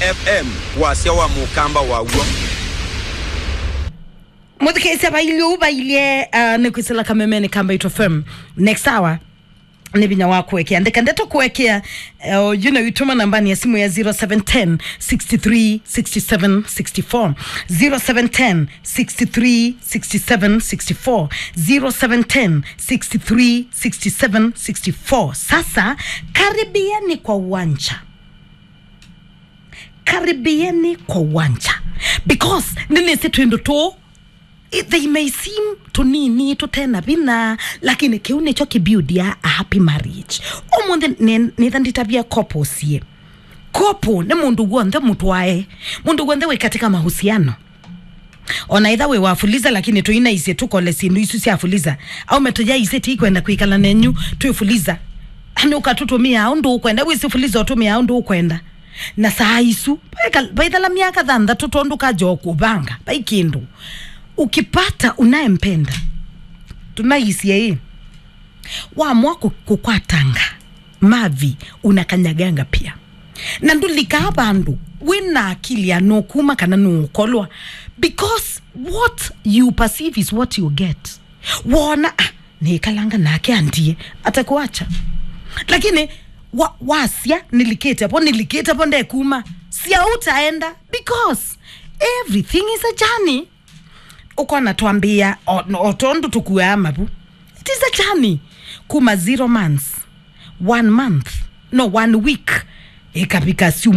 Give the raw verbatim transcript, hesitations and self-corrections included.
F M, wasya wa mũkamba waw'o. Mũthikĩĩsya vailye ũu vailye, uh, nĩ kwĩsĩla kamemeni ka Mbaitũ F M. Next hour nĩ vinya wa kũekea. Ndeka ndeto kũekea, uh, you know, itũma nambani ya simu ya zero seven ten, six three, six seven, six four. Zero seven ten, six three, six seven, six four. Zero seven ten, six three, six seven, six four. Sasa, karibieni kwa uwanja. Karibieni kwa uwanja. Because nĩnĩsĩ twĩndũ tũũ, i- they may seem tũnini, tũtena vinya, lakini kĩu nĩkyo kĩbuildia a happy marriage. Ũmũnthĩ nĩ- nĩtha nditavya couple sie. Couple nĩ mũndũ w'onthe mũtwae, mũndũ w'onthe wĩ katika mahusiano. Ona ĩtha wĩ wa fuliza, lakini tũinaisye tũkole syĩndũ isu sya fuliza. Aume tũyaisye ti kwenda kwĩkala nenyu twĩ fuliza. Ani ũkatũtũmĩa ũndũ ũkwenda, wĩsĩ fuliza ũtũmĩa ũndũ ũkwenda. Na saa isu, vaika- vaithela myaka thanthatũ tondũ kaja o kũvanga, vai kĩndũ. Ukipata unayempenda, tunaisye ĩ, wamwa kũ- kũkwatanga mavi, unakanyaganga pia. Na ndũlikaa vandũ wĩna akili ya nũkuma kana nũũkolwa, because what you perceive is what you get. Wona, ah, nĩkalanga nake andie, atakuacha. Lakini wa- wasya, "Nilikĩte vo, nilikĩte vo, ndekuma," sia utaenda, because everything is a journey. Ũkona twambĩĩa o, o tondũ tũkuaa mavu. It is a journey. Kuma zero months, one month, no, one week, ĩkavika syumwa